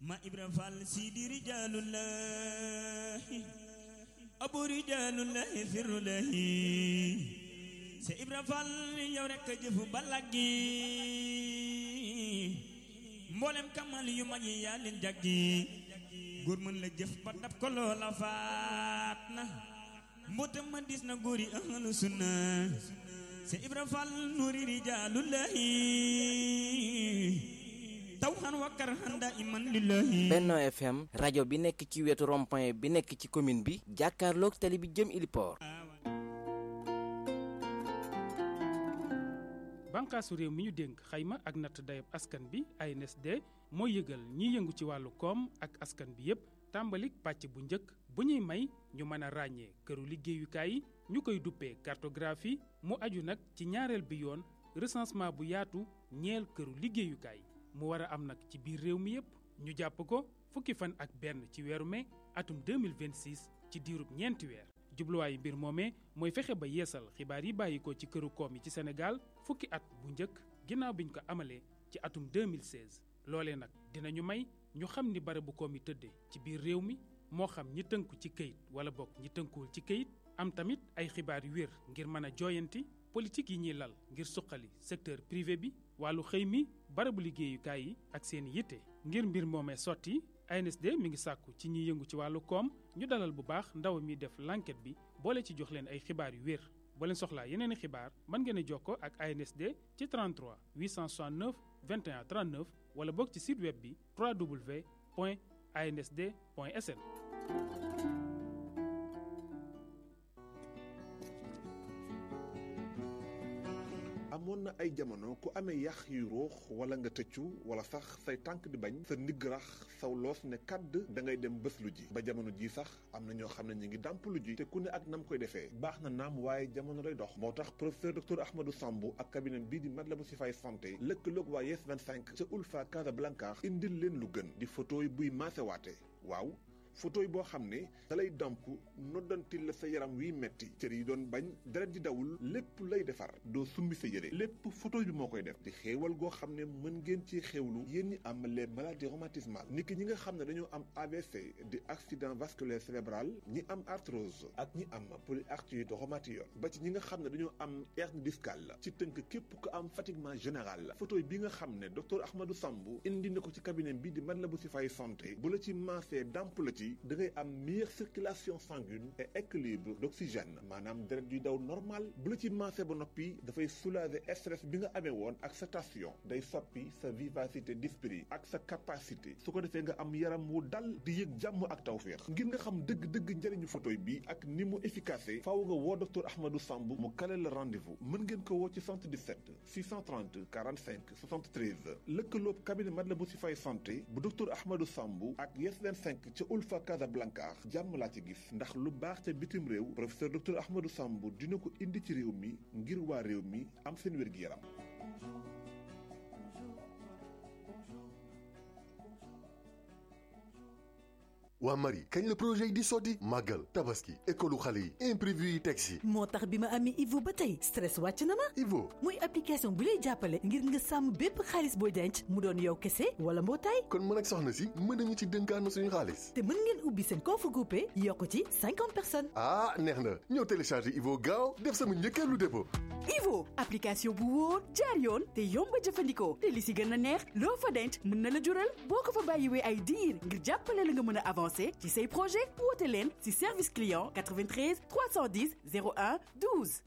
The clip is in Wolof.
ma Ibra Fall sidi rijalullahi abu rijalullahi firulahi se Ibra Fall yow rek jëfu balagi mboolem kamal yu mag yi yaa leen jaggi góor mën la jëf ba dab ko loola faat na mbootam ma dis na góor yi ahlu sunna se Ibra Fall nuuri rijaalullahi tawhan wa karhan daiman lillahi. Benno FM rajo bi nekk ci wetu rond-point bi nekk ci commune bi jàkkaarloog tali bi jëm Iliport. bànqaasu réew mi ñu dénk xayma ak natt dayab askan bi ANSD mooy yëgal ñiy yëngu ci wàllu koom ak askan bi yépp tàmbalik pàcc bu njëkk bu ñuy may ñu mën a ràññee këru liggéeyukaay yi ñu koy duppee cartographie mu aju nag ci ñaareel bi yoon recensement bu yaatu ñeel këru liggéeyukaay mu war a am nag ci biir réew mi yépp ñu jàpp ko fukki fan ak benn ci weeru mai atum 2026 ci diirub ñeenti weer jubluwaayu mbir moomee mooy fexe ba yeesal xibaar yi bàyyi ko ci këru koom yi ci Sénégal fukki at bu njëkk ginnaaw biñ ko amalee ci atum 2016 loolee nag dinañu may ñu xam ni barabu koom yi tëddee ci biir réew mi moo xam ñi tënku ci këyit wala bokk ñi tënkuwul ci këyit am tamit ay xibaar yu wér ngir mën a jooyanti politique yi ñuy lal ngir suqali secteur privé bi wàllu xëy mi barabu liggéeyukaay yi ak seen yitte ngir mbir moomee sotti ANSD mi ngi sàkku ci ñiy yëngu ci wàllu koom ñu dalal bu baax ndaw mi def l'enquête bi boole ci jox leen ay xibaar yu wér boo leen soxlaa yeneen i xibaar mën ngeen a jokkoo ak ANSD ci 33 869 21 39 wala bokk ci site web bi www.ansd.sn. amoon na ay jamono ku amee yax yu ruux wala nga tëccu wala sax say tànk di bañ sa ndigg rax saw loos ne kàdd da ngay dem bés lu ji ba jamono ji sax am na ñoo xam ne ñu ngi dàmp lu ji te ku ne ak nam koy defee baax na naam waaye jamono lay dox moo tax professeur docteur Ahmadou Sambou ak cabinet bii di Matlaboul Chifaay santé lëkkaloog waa Yes 25 ca Ulfa Casablanca indil leen lu gën di photo yi buy maasewaate waaw photo yi boo xam ne dalay damp noddantil la sa yaram wiy metti cër yi doon bañ deret di dawul lépp lay defar doo summi sa yére lépp photo bi moo koy def di xéewal goo xam ne mën ngeen ci xéewlu yéen ñi am les maladies rhumatismales niki ñi nga xam ne dañoo am AVC di accident vasculaire cérébral ñi am arthrose ak ñi am polyarthrite rhumatoïde ba ci ñi nga xam ne dañoo am hernie discale ci tënk képp ku am fatiguement général photo bi nga xam ne docteur Ahmadou Sambou indi na ko ci cabinet bi di Matlaboul Chifaay santé bu la ci maasee damp la ci da ngay am meilleure circulation sanguine et équilibre d'oxygène maanaam deret yuy daw normal bu la ci maasee ba noppi dafay soulager stress bi nga amee woon ak sa tension day soppi sa vivacité d'esprit ak sa capacité su ko defee nga am yaram wu dal di yëg jàmm ak tawféex ngir nga xam dëgg-dëgg njëriñu photo bi ak ni mu efficace faaw nga woo docteur Ahmadou Sambou mu kale la rendez-vous mën ngeen ko woo ci 77 630 45 73 lëkkaloob cabinet Matlaboul Chifaay santé bu docteur Ahmadou Sambou ak Yes 25 ca Ulfa Casablanca jàmm laa ci gis ndax lu baax ca bitim réew professeur docteur Ahmadou Sambou dina ko indi ci réew mi ngir waa réew mi am seen wér-gi-yaram. waa Marie kañ la projet yi di sotti màggal tabaski école xale yi imprévu yi teg si moo tax bi ma amee Ivo ba tey stress wàcc na ma Ivo muy application bu lay jàppale ngir nga sàmm bépp xaalis booy denc mu doon yow kese wala mbootaay kon mën ak soxna si mën nañu ci dénkaan suñu xaalis te mën ngeen ubbi seen compte groupé yokk ci 50 personnes ah neex na ñëw télécharger Ivo gaaw def sama njëkkeelu dépôt Ivo application bu wóor jaar yoon te yomb a jëfandikoo te li si gën a neex loo fa denc mën na la jural boo ko fa bàyyiwee ay diir ngir jàppale la nga mën a avancer ci say projet woote leen ci service client 93 310 01 12